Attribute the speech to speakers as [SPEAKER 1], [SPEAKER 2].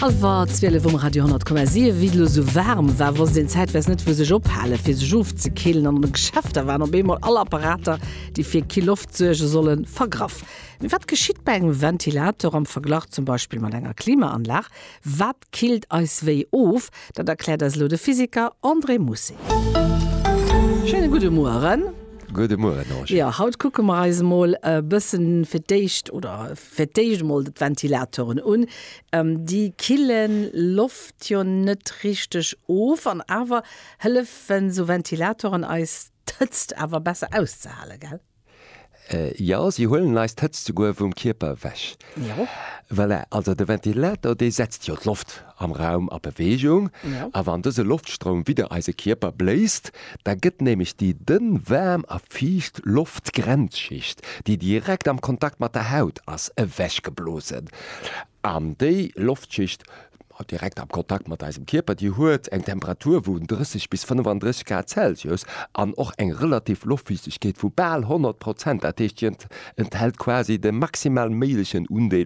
[SPEAKER 1] Hallwer 12 um Radio 10,7. Wéi et elo sou waarm war, wosst een zäitweis net wou sech ophalen, fir sech ofzekillen. An an de Geschäfter waren op eemol all Apparater, déi fir kill Loft suerge sollen, vergraff. Mee wat geschitt bei engem Ventilator am Verglach zum Beispill mat enger Klimaanlag? Wat killt eis wéi of? Dat erkläert eis elo de Physiker André Mousset. Schéine gudde Mueren.
[SPEAKER 2] Gudde Mueren, Angie.
[SPEAKER 1] Jo, haut kucke mer eis emol e bëssen fir d'éischt, oder fir d'éischt emol d'Ventilatoren un. Déi kille Loft jo net richteg of an awer hëllefen esou Ventilatoren eis d'Hëtzt awer besser auszehalen, gell?
[SPEAKER 2] Jo, si huelen eis d'Hëtzt souguer vum Kierper ewech.
[SPEAKER 1] Jo.
[SPEAKER 2] Voilà, also de Ventilator, dee setzt jo d'Loft am Raum a Beweegung.
[SPEAKER 1] Jo.
[SPEAKER 2] A wann dëse Loftstroum widder eise Kierper bléist, da gëtt nämlech déi dënn, waarm a fiicht Loftgrenzschicht, déi direkt am Kontakt mat der Haut ass, ewechgeblosen. An déi Loftschicht direkt am Kontakt mat eisem Kierper, déi huet eng Temperatur vu 30 bis 35 Grad Celsius an och eng relativ Loftfiichtegkeet vu bal 100 Prozent. Dat heescht, déi enthält quasi de maximal méiglechen Undeel.